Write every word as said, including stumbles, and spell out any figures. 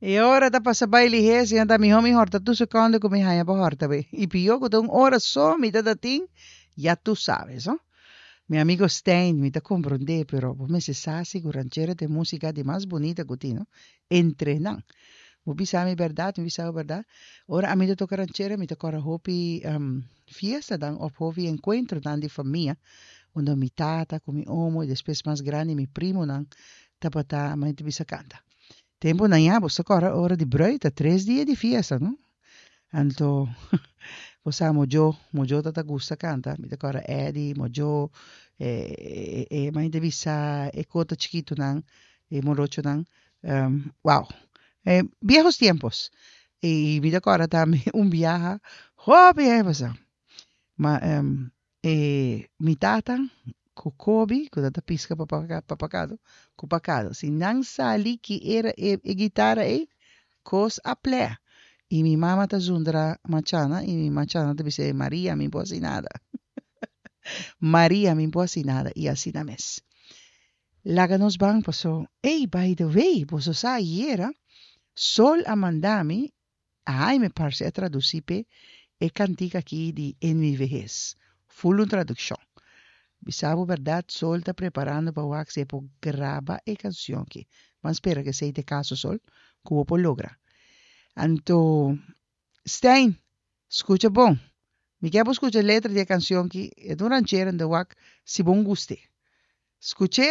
E ora ta pasa bai lihé, si anda mihó mi hòrta tur sekònde ku mi haña pa hòrta be. I pió ku ta un ora so mi ta tin, ya tú sabes, no? Mi amigo Stein, mi ta komprondé, pero bo mester sa si ku ranchera ta e músika di mas bunita ku tin, no? Entre nan. Bo bisa mi bèrdat, mi bisa bo bèrdat. Ora ami ta toka ranchera, mi ta kòrda hopi um, fiestanan òf hopi enkuentronan di famia, unda mi tata ku mi omo i despues mas grandi mi primonan tabata ta bisa kanta. Tempunan ya, bo ta kòrda ora di brùit, ta tres dia di fiesta, no? Anto, bo sa Mojo, Mojo tabata gusta kanta, mi ta kòrda Eddie, Mojo, eh, eh, eh, ta bisa e kota chikitunan, e morochonan, um, wow. Eh, viejos tiempos. I mi ta kòrda tambe un biaha, hopi aña pasá. Ma um, eh, mi tata, ku Kobi, ku tabata piska papakado, ku pakado. Si nan sali ku era e, e guitarra ei, kos a plea. I mi mama ta zundra Machana, i mi Machana ta bisa, Maria, mi n' por hasi nada. Maria, mi n' por hasi nada. I asina mes. Laga nos ban pasó. Ei, by the way, boso sa ayera, Sol a manda mi, ai me parse a tradusí pe e kantika aki di En mi vejez. Full un tradukshon. Bisa bo bèrdat, Sol ta preparando pa wak si e por graba e kanshon aki. Ban spera ku esei ta e kaso Sol, ku bo por logra. Anto, Stein, skucha bon. Mi ke skucha letra di e kanshon aki, e ta un ranchera di wak si bo gust'é. Skucha.